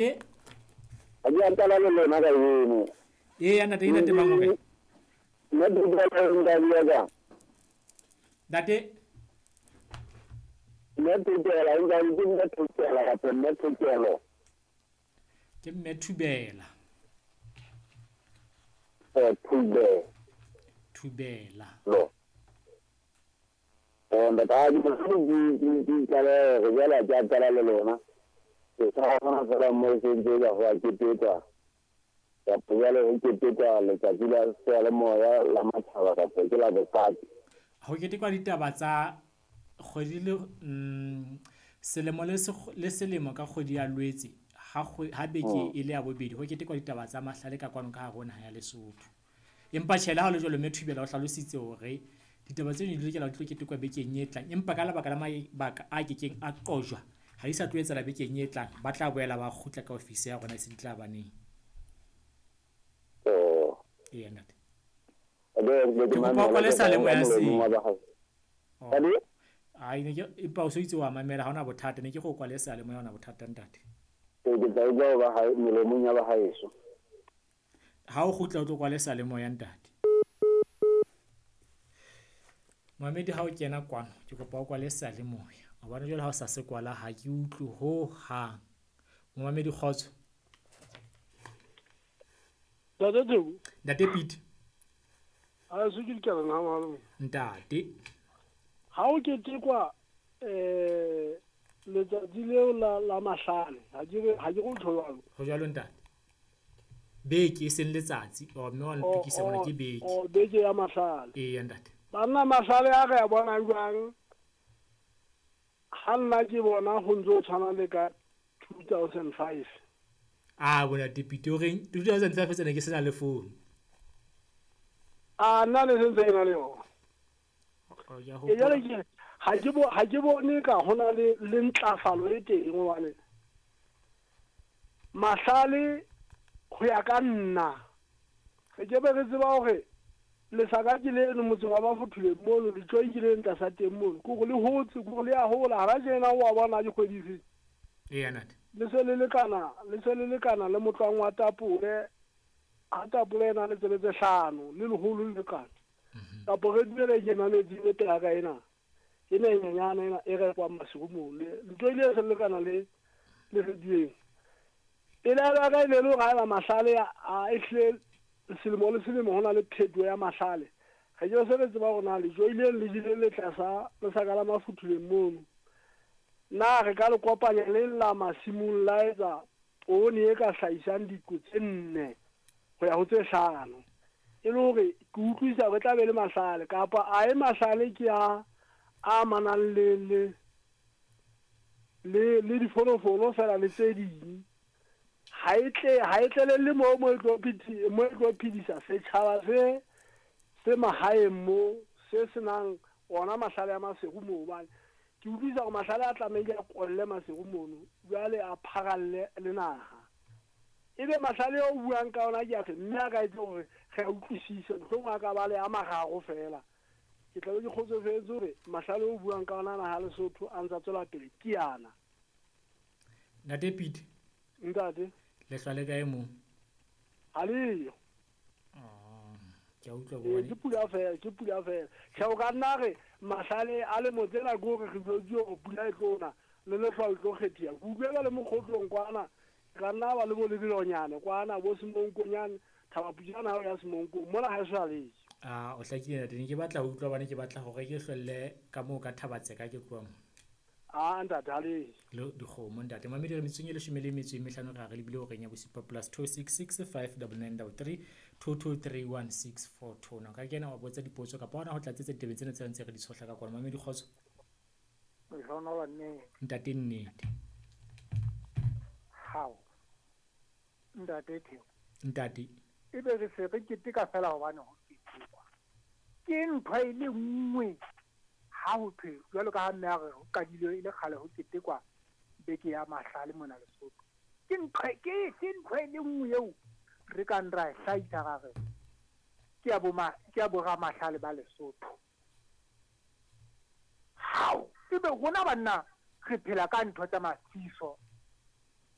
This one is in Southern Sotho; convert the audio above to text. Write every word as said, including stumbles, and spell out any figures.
Ha ke a qala le lona kajeno. Eya ntate, ke ntate mang o kae? Nna Thubela ntate ya ka. Ntate? Nna Thubela, ntate ke nna Thubela kapa nna Thubelo. Ke mme Thubela. Eh, Thubela. Thubela. Lo. Eh, ntate ha ke ke ke qala re jala ke a qala le lona. Ke sa bona fela mo se ntse ka ho a ketekwa. Kapa jwale ho ketekwa letsatsi la seyalemoya la matjhaba kapa ke la boqapi. Ho ketekwa ditaba tsa kgwedi le mm, selemo le le selemo ka kgwedi ya Lwetse ha ha beke e le ya bobedi ho ketekwa ditaba tsa mahlale ka kwano ka hare ho naha ya Lesotho. Empa tjhe le ha ho le jwalo mme Thubela o hlalositse hore ditaba tseno di lokela ho tlo ketekwa bekeng e tlang, empa ka lebaka la mabaka a kekeng a qojwa ha di sa tlo etsahala bekeng e tlang, ba tla boela ba kgutla ka ofisi ya rona e se di tla baneng. Oh. Eya ntate. Ke kopa o kwale seyalemoya seo. Ai ne ke empa o so itse wa mamela ha ona bothata, ne ke go kwale seyalemoya ha ona bothata ntate. Ke tla utlwa ba hae melomong ya ba haeso. Ha o kgutla o tlo kwale seyalemoya ntate. Mamedi ha o kena kwano ke kopa o kwale seyalemoya. Hobane jwale ha o sa se kwala ha ke utlwe ho hang. Momamedi kgotso. Ntate Theko. Ntate Pete. Ha se ke dikana ha malome. Ntate. Ha o ketekwa eh letsatsi leo la la mahlale, ha ke ha ke go tho jwalo. Ho jwalo ntate. Beke e seng letsatsi, o mme wa ntukisa bona ke beke. O beke ya mahlale. Ee ntate. Banna mahlale a re a bona jwang? Ha nna ke bona ho ntso tshwana le ka two thousand five. Ah bona Pete o reng two thousand five tsena ke sena le phone. Ah nna le sentse ke na le yona. Ke jwale ke ha ke bo ha ke bone ka hona le le ntlafalo e teng hobane mahlale ho ya ka nna re ke be re tseba hore lesaka ke le no motseng wa ba fothule mono le tjoi ke le ntla teng mono ke go le hotse ke go le ya hola ha ba jena wa bona dikgwedi tse. Eya ntate. Le se le lekana le se le lekana le motlwang wa tapole ha tapole ena le tsebe tse hlano le leholo le lekana. Kapo re dumele ke mametse le pela ka ena ke ne nyenyana ena e re kwa masigo mo le ntlo ile se lekana le le re dieng pele ba ka ile le ga ba mahlale a ehle selemo le selemo hona le pheto ya mahlale re ke se re tseba hore na le joile le jile le tlasa le saka la mafuthuleng mono na re ka le kopanya le la masimong la etsa poone e ka hlahisang diqo tse nne ho ya ho tse hlano e le hore ke utlwisa re tla be le mahlale kapa a e mahlale ke a a manang le le le le difolofolo fela le tse ding ha e tle ha e tlele le mo mo e tlo phiti mo e tlo phidisa setjhaba se se mahaeng mo se senang ona mahlale a masego mo hobane ke utlwisa hore mahlale a tlamehile a kolle masego mono jwale a pharalle le naha ebe mahlale o buang ka ona ke a fe mme a ka etse hore re a utlwisise mohlomong a ka ba le a mararo fela ke tla be ke kgotsofetse hore mahlale o buang ka ona naha Lesotho a ntsa tswela pele ke yana. Ntate Pete. Ntate. Le hlwa le kae mo? Ha leyo. Ah, ke a utlwa bone. Ke pula fela, ke pula fela. Tjhe o ka nna re mahlale a le motsela ke hore re jwetse hore pula e tlo na le lehlwa le tlo kgethiya. Ke utlwela le mokgotlong kwana ka nna ba le bo lebelonyane kwana bo semonkonyane Thaba Pujana ha o ya semonkong mona ha e sa le. Ah o hlakile ntate, ne ke batla ho utlwa bane ke batla hore ke hlwelle ka moo ka Thabatseka ke tloha mo. Ah ntate ha le. Le dikgomo ntate. Mamedi re metsong e leshome le metso e mehlano re re lebile horeng ya bosupa plus two six six five nine nine three two two three one six four two. Na ka kena wa botsa dipotso kapa hona ho tlatsetsa ditebeng tsena tse ntse re di tshohla ka kwana. Mamedi kgotso. Lehlohonolo nnete. Ntate nnete. Hao. Ntate Theo. Ntate. Ebe re se re keteka fela hobane ho ketekwa. Ke ntho e le nngwe ha ho thwe jwalo ka ha mme a re ho qadile e le kgale ho ketekwa beke ya mahlale mona Lesotho. Ke ntho ke ke ntho e le nngwe eo re ka nra e hlahisa ra re ke ya bo ma ke ya bo ramahlale ba Lesotho. Hao, ebe rona banna re phela ka ntho tsa mafiso